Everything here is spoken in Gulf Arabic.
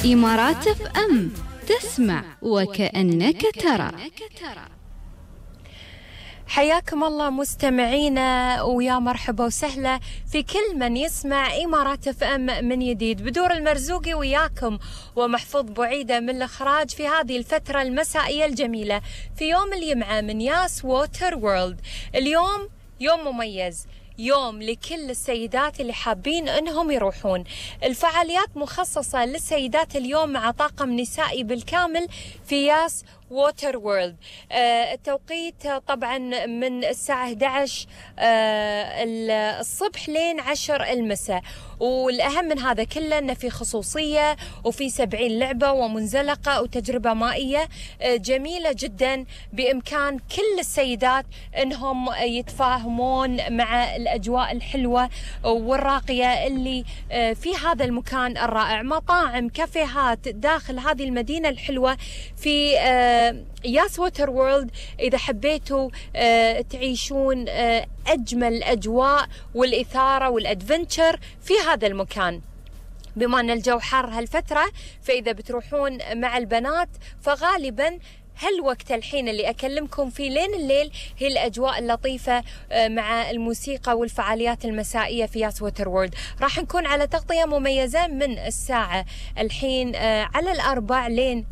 إمارات اف ام، تسمع وكأنك ترى. حياكم الله مستمعينا، ويا مرحبا وسهلا في كل من يسمع إمارات اف ام من جديد. بدور المرزوقي وياكم ومحفوظ بعيدة من الإخراج في هذه الفترة المسائية الجميلة في يوم الجمعة من ياس ووتر وورلد. اليوم يوم مميز، يوم لكل السيدات اللي حابين انهم يروحون. الفعاليات مخصصة للسيدات اليوم مع طاقم نسائي بالكامل في ياس ووتر وورلد. التوقيت طبعا من الساعة 11 الصبح لين 10 المساء. والأهم من هذا كله أنه في خصوصية وفي 70 لعبة ومنزلقة وتجربة مائية جميلة جدا، بإمكان كل السيدات أنهم يتفاهمون مع الأجواء الحلوة والراقية اللي في هذا المكان الرائع. مطاعم، كافيهات داخل هذه المدينة الحلوة في ياس ووتر وورلد. إذا حبيتوا تعيشون أجمل الأجواء والإثارة والأدفنتشر في هذا المكان، بما أن الجو حار هالفترة، فإذا بتروحون مع البنات فغالبا هالوقت الحين اللي أكلمكم فيه لين الليل هي الأجواء اللطيفة مع الموسيقى والفعاليات المسائية في ياس ووتر وورلد. راح نكون على تغطية مميزة من الساعة الحين على 4 لين